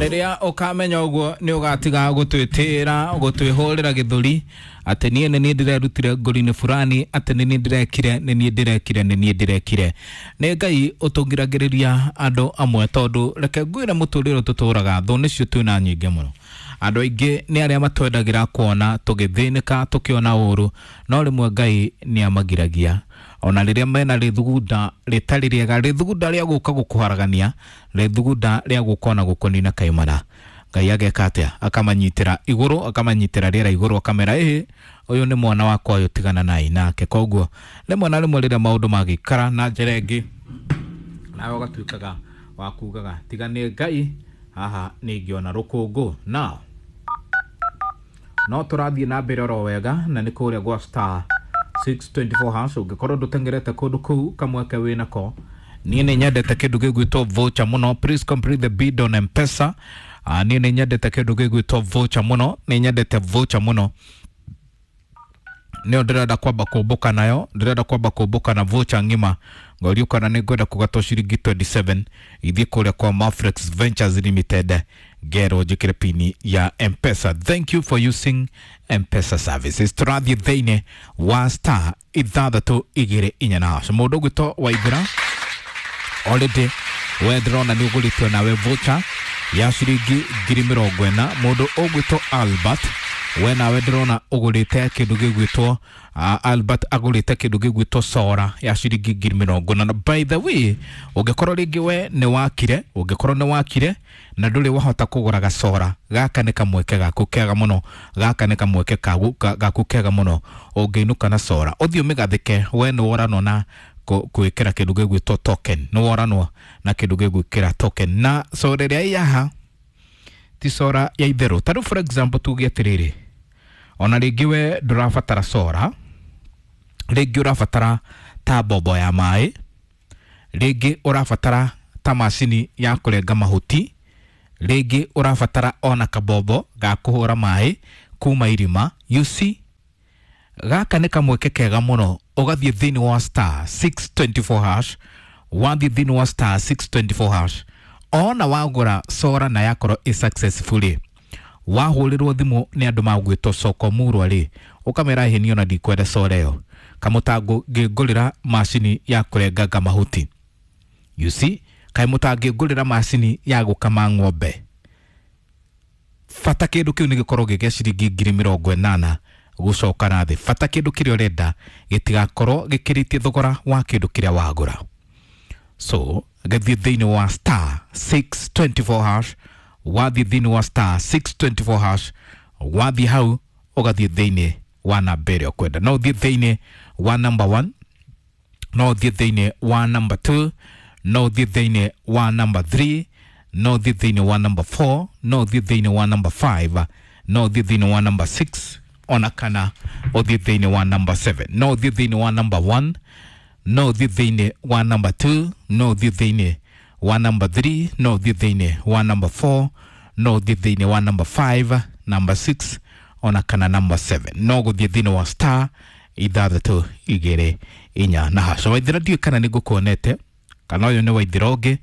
Rĩrĩa ũkamenya ũguo nĩ ũgatiga gũtwĩtĩra gũtwĩhũrĩra gĩthũri atĩ niĩ nĩ niĩ ndĩrerutire ngũri-inĩ fulani, atĩ nĩ niĩ ndĩrekire, nĩ niĩ ndĩrekire, nĩ niĩ ndĩrekire. Nĩ Ngai ũtũngiragĩrĩria andũ amwe, tondũ reke ngwĩre mũtũrĩre tũtũraga thũ nĩcio twĩna nyingĩ mũno. Andũ aingĩ nĩ arĩa matwendagĩra kuona tũgĩthĩnĩka, tũkĩona ũru, no rĩmwe Ngai nĩ amagiragia ona rĩrĩa mena rĩthugunda rĩtarĩ rĩega, rĩthugunda rĩa gũka gũkũharagania, rĩthugunda rĩa gũka ona gũkũnina kaimana. Ngai ageka atĩa? Akamanyitĩra igũrũ, akamanyitĩra rĩera igũrũ, akamera ĩhĩ, ũyũ nĩ mwana wakwa ũyũ, tigana nai nake. Koguo rĩmwe na rĩmwe rĩrĩa maũndũ magĩikara na njĩra ĩngĩ, nawe ũgatuĩkaga wa kugaga tiga nĩ Ngai haha nĩ ingĩona rũkũngũ. Now no tũrathiĩ na mbere oro wega, na nĩ kũrĩa gwa star 624 hash. Ũngĩkorwo ndũteng'erete kũndũ kũu, kamweke wĩnako. Niĩ nĩ nyendete kĩndũ gĩgwĩtwo voucher mũno. Please complete the bid on M-Pesa. Niĩ nĩ nyendete kĩndũ gĩgwĩtwo voucher mũno, nĩ nyendete voucher mũno. Nĩyo ndĩrenda kwamba kũmbũka nayo, ndĩrenda kwamba kũmbũka na voucher ng'ima. Ngorio kana nĩ ngwenda kũgatwo ciringi 27 ithiĩ kũrĩa kwa Mafrex Ventures Limited, ngerwo njĩkĩre pini ya M-Pesa. Thank you for using M-Pesa services. Tũrathiĩ thĩinĩ wa star 624 na hash. Mũndũ ũgwĩtwo Waithĩra, already we ndĩrona nĩ ũgũrĩtwo nawe voucher ya ciringi 40,000. Mũndũ ũgwĩtwo Albert, we nawe ndĩrona ũgũrĩte kĩndũ gĩgwĩtwo Albert agũrĩte kĩndũ gĩgwĩtwo sora ya ciringi 40,000. Na by the way, ũngĩkorwo rĩngĩ we nĩ wakire, ũngĩkorwo nĩ wakire na ndũrĩ wahota kũgũra gacora, gaka nĩ kamweke gaku kega mũno, gaka nĩ kamweke gaku kega mũno. Ũngĩinũka na sora ũthiĩ ũmĩgathĩke, we nĩ woranwo na gwĩkĩra kĩndũ gĩgwĩtwo token, nĩ woranwo na kĩndũ gĩgwĩkĩra token. Na sora ĩrĩa ĩ haha ti sora ya itherũ. Ta rĩu for example tuge atĩrĩrĩ, ona rĩngĩ we ndũrabatara sora, rĩngĩ ũrabatara ta mbombo ya maĩ, rĩngĩ ũrabatara ta macini ya kũrenga mahuti, rĩngĩ ũrabatara ona kabombo ga kũhũra maĩ kuma irima. You see, gaka nĩ kamweke kega mũno. Ũgathiĩ thĩinĩ wa star 624 hash, wathiĩ thĩinĩ wa star 624 hash, ona wagũra sora na yakorwo ĩ successfully, wahũrĩrwo thimũ nĩ andũ magwĩtwo soko murwa rĩ, ũkamera hĩ niĩ ona ndikwenda sora ĩyo, kamũtango ngĩngũrĩra macini ya kũrenganga mahuti. You see, kaĩ mũtangĩngũrĩra macini ya gũkama ng'ombe? Bata kĩndũ kĩu nĩ gĩkorwo gĩ gĩa ciringi 80,000 gũcoka na thĩ. Bata kĩndũ kĩrĩa ũrenda gĩtigakorwo gĩkĩrĩtie thogora wa kĩndũ kĩrĩa wagũra. So gĩthiĩ thĩinĩ wa star 624 hash, wathiĩ thĩinĩ wa star 624 hash, wathiĩ hau ũgathiĩ thĩinĩ wa namba ĩrĩa ũkwenda. No ũthiĩ thĩinĩ wa number 1, no ũthiĩ thĩinĩ wa number 2, no ũthiĩ thĩinĩ wa number 3, no ũthiĩ thĩinĩ wa number 4, no ũthiĩ thĩinĩ wa number 5, no ũthiĩ thĩinĩ wa number 6, ona kana ũthiĩ thĩinĩ wa number 7. No ũthiĩ thĩinĩ wa number 1, no ũthiĩ thĩinĩ wa number 2, no ũthiĩ thĩinĩ wa number 3, no ũthiĩ thĩinĩ wa number 4, no ũthiĩ thĩinĩ wa number 5, number 6, ona kana number 7. No gũthiĩ thĩinĩ wa star 624 na hash. Waithĩra, ndiũĩ kana nĩ ngũkuonete kana ũyũ nĩ Waithĩra ũngĩ,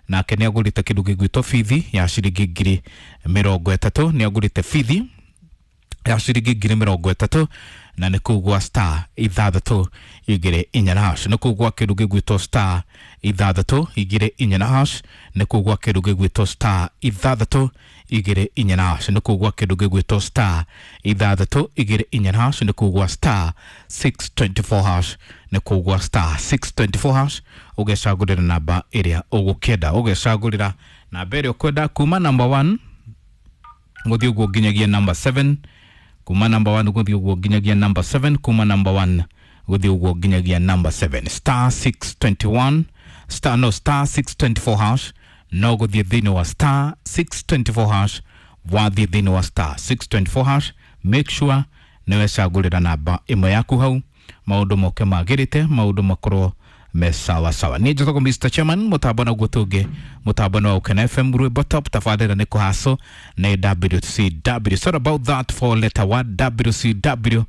nake nĩ agũrĩte kĩndũ gĩgwĩtwo bithi ya ciringi 30,000. Nĩ agũrĩte bithi ya ciringi 30,000, na nĩ kũu gwa star 624 na hash. Nĩ kũu gwa kĩndũ gĩgwĩtwo star 624 na hash. Nĩ kũu gwa kĩndũ gĩgwĩtwo star 624 na hash. Nĩ kũu gwa kĩndũ gĩgwĩtwo star 624 na hash. Nĩ kũu gwa star 624 hash. Nĩ kũu gwa star 624 hash, ũgecagũrĩra namba ĩrĩa ũgũkĩenda, ũgecagũrĩra namba ĩrĩa ũkwenda kuma number 1 gũthiĩ ũguo nginyagia number 7, kuma number 1 gũthiĩ ũguo nginyagia number 7, kuma number 1 gũthiĩ ũguo nginyagia number 7. Star 621 star, no, star 624 hash. No gũthiĩ thĩinĩ wa star 624 hash. Wathiĩ thĩinĩ wa star 624 hash, make sure nĩ wecagũrĩra namba ĩmwe yaku hau, maũndũ moke magĩrĩte, maũndũ makorwo me sawa sawa. Niĩ njĩtagwo Mr Chairman, mũtambo naguo tũngĩ mũtambo nĩ wa Ukena FM, rwĩmbo top tabarĩra nĩ kũhaco nĩ WCW. Sorry about that for letter 1 WCW,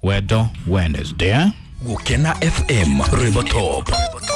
Wendo Wednesday, eh? Gukena FM, rwĩmbo top.